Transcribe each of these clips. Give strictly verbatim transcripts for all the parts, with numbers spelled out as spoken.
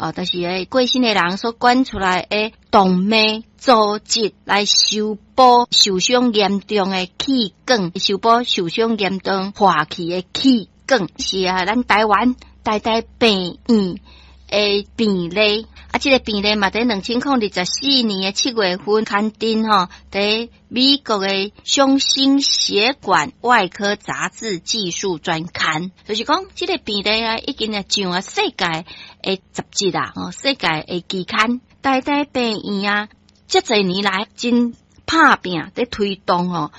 哦，就是个過身的人所捐出來的動脈組織來修補受傷嚴重的氣管，修補受傷嚴重破去的氣管，是啊，咱台灣台大病院的病例，啊，這個病例嘛，佇兩千零二十四年的七月份刊登吼，佇美國的胸心血管外科雜誌技術專刊，就是講這個病例啊，已經啊上啊世界的雜誌啦，吼，世界的期刊，台大病院啊，這濟年來真拍拚佇推動吼，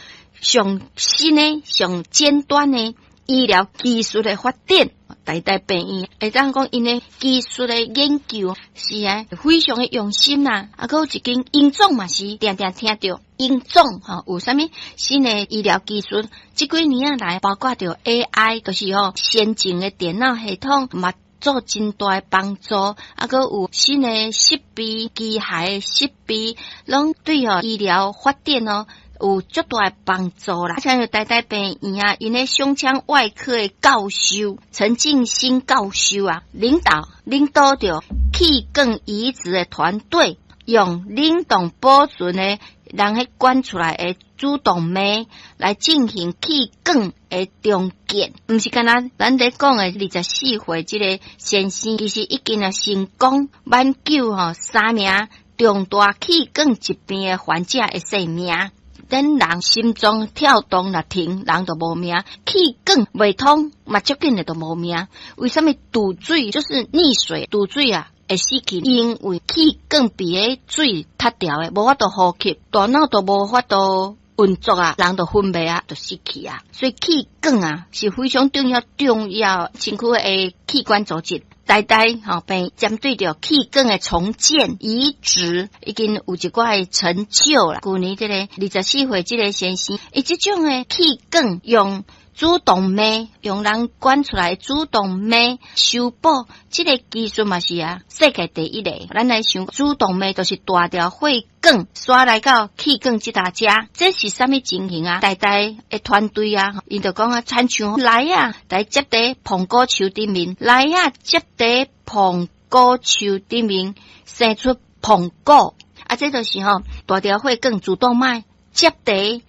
上新的、上尖端的醫療技術的發展。台大病院會當講，𪜶的技術的研究是啊，非常的用心啦。啊，閣有一間榮總嘛是定定聽著榮總吼，有啥物新的醫療技術？這幾年啊來，包括著 A I，就是吼先進的電腦系統嘛，做真大的幫助。啊，閣有新的設備、機械的設備，攏對吼醫療發展哦，有足大的幫助啦！像台大病院啊，𪜶的胸腔外科的教授陳進興教授啊，領導領導著氣管移植的團隊，用冷凍保存的人彼捐出來的主動脈來進行氣管的重建，毋是干焦咱咧講的二十四歲這个先生，其實已經啊成功挽救吼三名重大氣管疾病的患者的性命。等人心臟跳動若停，人就無命；氣管袂通，嘛足緊的就無命。為啥物堵水就是溺水？堵水啊會死去，因為氣管被彼水塞牢的，無法度呼吸，大腦都無法度運作啊，人就昏迷啊，就死去啊。所以氣管啊是非常重要、重要身軀的器官組織。台大吼病針對著氣管的重建移植，已經有一寡的成就啦。舊年這個二十四歲這個先生，伊這種的氣管用主動脈，用人捐出來主動脈修補，這個技術嘛是啊世界第一个。咱來想主動脈就是大條血管，徙來到氣管這搭遮，這是啥物情形啊？台大的團隊啊，𪜶就講啊，親像梨仔，來接佇蘋果樹頂面，梨仔接佇蘋果樹頂面生出蘋果，啊，這就是吼大條血管主動脈接佇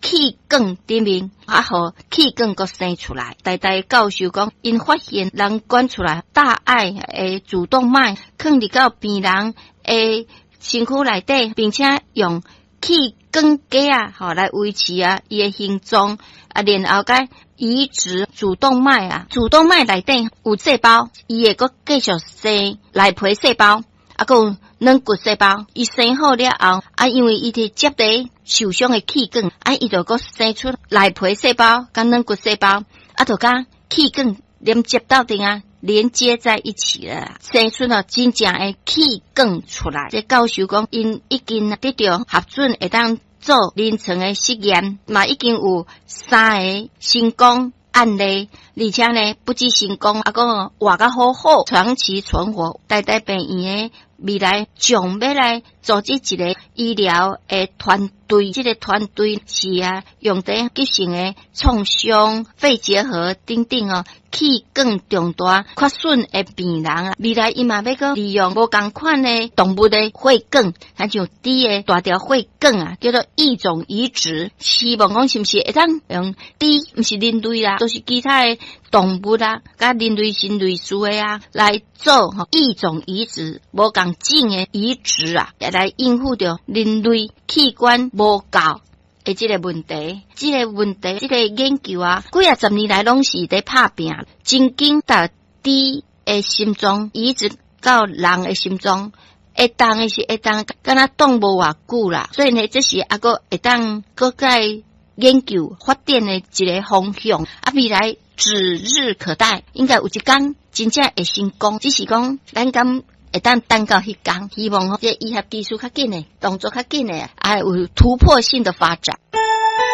氣管頂面，啊，予氣管閣生出來。台大教授講，𪜶發現人捐出來大愛的主動脈，囥佇到病人的身軀內底，並且用氣管架啊，吼來維持啊伊的形狀啊，然後佮移植主動脈啊，主動脈內底有細胞，伊會閣繼續生內皮細胞，啊，閣有軟骨細胞，伊生好了後，啊，因為伊佇接佇受傷的氣管，啊，伊就閣生出內皮細胞佮軟骨細胞，啊，就佮氣管連接到陣啊，連接在一起了，生出了真正的氣管出來。這教授講，𪜶已經得著核准會當做臨床的實驗，嘛已經有三个成功案例，而且呢，不止成功，啊，閣活甲好好，長期存活。台大病院的未來將欲來組織一個醫療的團隊，這個團隊是啊，用佇急性的創傷、肺結核等等哦，氣管重大缺損的病人啊，未來伊嘛欲閣利用無仝款的動物的血管，親像豬的大條血管啊，叫做異種移植，希望講是毋是會當用豬，毋是人類啦，都是其他的動物啊，佮人類是類似的啊，來做吼異種移植，無仝種的移植啊，來應付著人類器官無夠的這個問題，這個問題，這個研究啊，幾仔十年來攏是佇拍拚，真緊共豬的心臟移植到人的心臟，會當的是會當，敢若擋無偌久啦，所以呢，這是猶閣會當閣再研究發展的一個方向，啊，未來指日可待，應該有一天真正會成功，只是講咱敢會當等到彼工，希望這醫學技術較緊的，動作較緊的，啊，有突破性的發展。